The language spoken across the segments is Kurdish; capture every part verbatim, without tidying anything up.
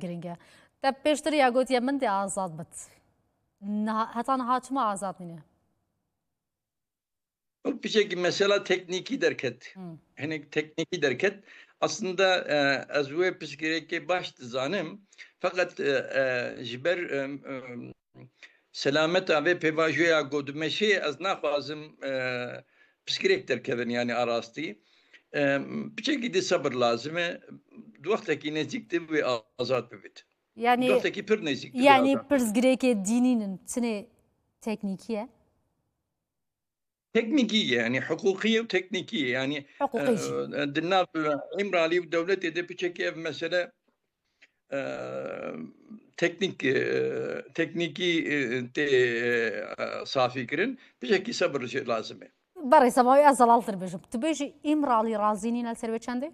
giring e. Te pêştir ya gotiye min dê azad bit. Niha, heta niha çima azad nîne? Piçekî mesela teknîkî derket. Hmm. Hinek teknîkî derket. Aslında e, ez wê pirsgirêkê baş dizanim. Feqet e, e, ji ber e, e, selameta vê pêvajoya ku dimeşê ez naxwazim e, pirsgirêk derkevin, yani arastî. E, piçekî di sebir lazim e. Di wextekî nêzîk de wê azad bibit. Di Yani wextekî pir nêzîk de wê yani azad bibit. Pirsgirêkê dînî nin, çinê teknîkî ye? Teknîkî ye, yani huquqî ye û teknîkî ye. Yani Huquqî jî. e, di nav Îmralî û dewletê de piçekî ev mesele e, teknîk e, teknîkî e, tê e, safî kirin. Piçekî sebir jî lazim e. Berê semawî ez zelaltir bêjim. Tu bêjî Îmralî razî nîne li ser wê çendê?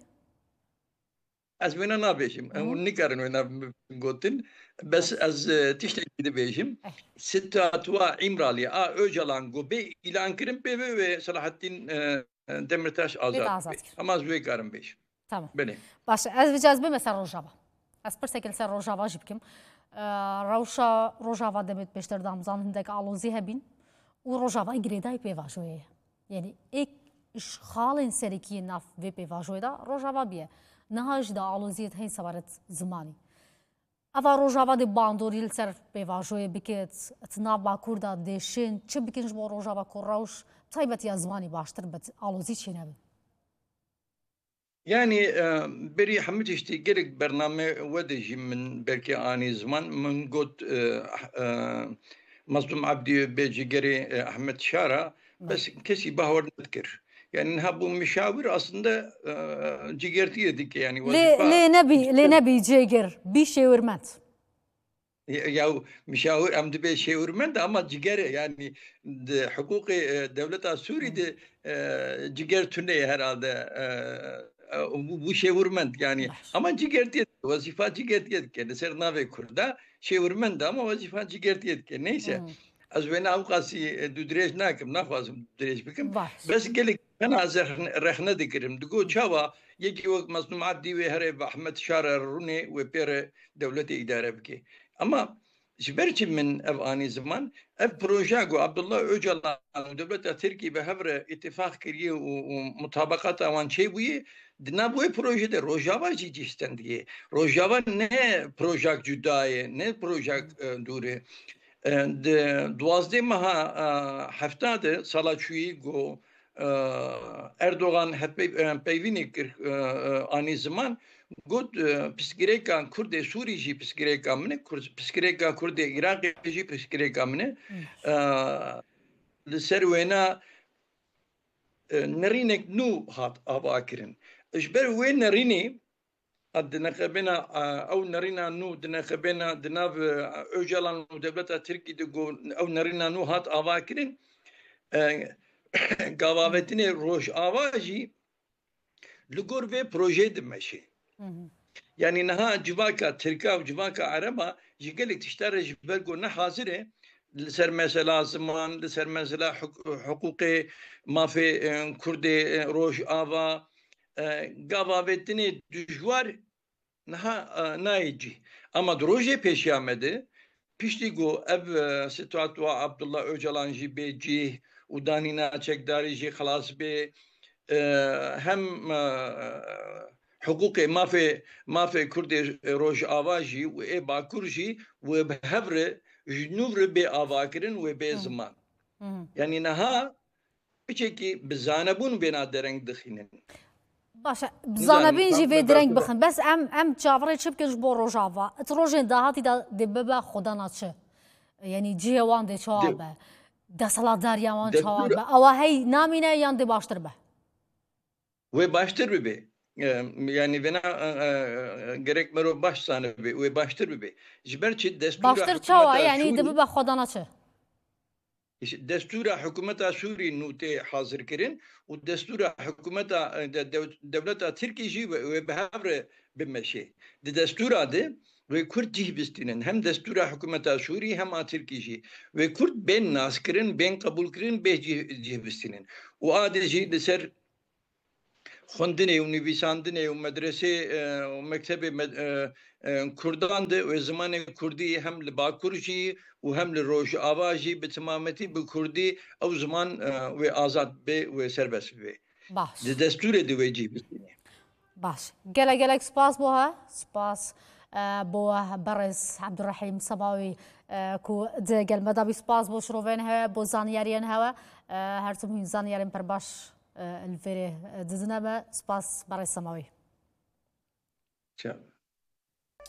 Ez wêna nabêjim. Hı. Hûn nikarin wêna gotin. Bes ez e, tiştekî dibêjim. Eh. Statûa Îmralî a Ocalan ku bê îlan kirin pê ve wê Selahattîn e, Demirtaş azad azad bê. kir. Ama ez wê karim bêjim. Tamam. Belê. Baş e, ez vêca ez bime ser Rojava. Ez pirsek li ser Rojava jî bikim. E, rewşa Rojava demê pêştir damzan hindek alozî hebîn û Rojava girêdayî pêvajoyê ye. Yani êk ji xalên serekî yên nav vê pêvajoyê de Rojava bûye. Niha jî de aloziyê heyî sebaret zimanî. Eva Rojava dê bandorî li ser pêvajoyê bikit, di nav Bakur de dê şên çi bikin ji bo Rojava ku rewş taybetiya zimanî baştir bit, alozî çênebin? Yani e, berî hemû tiştî gelek bername we de jî min belkî anî ziman. Min got e, e, Mazlûm Ebdî bê cigerê e, Ehmed Şara, Belê. Bes kesî bawer nedikir. Yani niha bû müşawir aslında e, cigertiyê dike yani Lê wazifa. lê nebî lê nebî cêgir bî şêwirmend. Ya müşawir em dibê şêwirmend ama ciger e, yani di huquqê e, dewleta Sûrî de e, ciger tune ye herhalde e, e, bû, bû şêwirmend yani. Baş. Ama cigertiyê dike, wazifa cigertiyê dike. Li ser navê Kurda şêwirmend ama wazifa cigertiyê dike. Neyse. Hmm. Ez wêna ew qasî e, dûdirêj nakim, naxwazim dûdirêj bikim. Baş. Bes gelek bena zehn- rexne dikirim. Digo çawa yekî wek Mazlûm Ebdî wê here bi Ehmed Şara rûnê wê pê re dewletê îdare bike. Ama ji ber çi min ev anî ziman? Ev proje ku Abdullah Ocalan û dewleta Tirkî bi hev re îtîfaq kiriye û, û mutabaqata wan çêbûye, di nav wê proje de Rojava jî cih stendiye. Rojava ne projak cuda ye, ne projak e, dûr e. E, di duwazdeh meha e, hefta de sala çûyî ku e, Erdogan hevpey- e, peyvînê kir e, e, anî ziman, got e, pirsgirêka Kurdê Sûrî jî pirsgirêka min e, Kurd, pirsgirêka Kurdê Iraqê jî pirsgirêka min e. Hmm. E, li ser wêna e, nerînek nû hat avakirin. Ji ber wê nerînê, a, di neqebêna, a, ew nerîna nû di neqebêna di nav e, Ocalan û dewleta Tirkî de ku ew nerîna nû hat avakirin, e, gavavetinê Rojava jî li gor vê projeyê dimeşe. Hı hı. Yani niha civaka Tirka û civaka Ereba ji gelek tişta re ji ber ku ne hazir e, li ser mesela ziman, li ser mesela huk- huquqê mafê e, Kurdê e, Rojava, e, gavavetinê dijwar niha e, nayê cî. Ama di rojê pêşiya me de, piştî ku ev e, statûa Abdullah Ocalan jî bê cîh û danîna çekdarî jî xilas bê, e, hem e, hiqûqê mafê, mafê Kurdê Rojava jî û ê Bakur jî wê bi hev re ji nû re bê avakirin, wê bê Hı. ziman. Hı hı. Yani niha piçekî bi zanebûn bêna dereng dixînin. Baş e, Nizanim, zanebîn jî bak- vê bak- direng bak- bixin. Bes em em çaverê çi bikin ji bo Rojava? It rojên dahatî de dê bibe xwedana çi? Yani cihê wan dê çawa Dê- be? Desthilatdariya wan çawa Destûr- be? Ewa hey namîne yan dê baştir be? Wê baştir bibe. E, yani vêna e, e, gerek mero baş zanibe, wê baştir bibe. Ji ber çi destûra Baştir hikûmeta çawa? Yani Sûrî- dê bibe xwedana çi? Îşte destûra hikûmeta Sûrî nû tê hazir kirin û destûra hikûmeta e, de, dew- dewleta Tirkî jî wê, wê bi hev re bimeşe. Di destûra de wê Kurd cih bistînin. Hem destûra hikûmeta Sûrî hem a Tirkî jî. Wê Kurd bên naskirin, bên qebûlkirin, bê cih, cih bistînin. Û a de jî li ser xwendinê û nivîsandinê û medresê, e, û mektebê med-, e, e, Kurdan de wê zimanê Kurdî hem li Bakur jî û hem li Rojava jî bi timametî bi Kurdî ew ziman, e, wê azad bê, wê serbest bê. Baş. Di destûrê de wê cî bistîne. Baş. Gelek gelek spas bo he. Spas, e, bo berêz Abdurrahîm Semawî, e, ku di gel me de bî. Spas bo şirovên hewe, bo zanyariyên hewe. E, her tim hûn zanyarên pir baş, e, li vêrê, e, didine me. Spas berêz Semawî. Çi?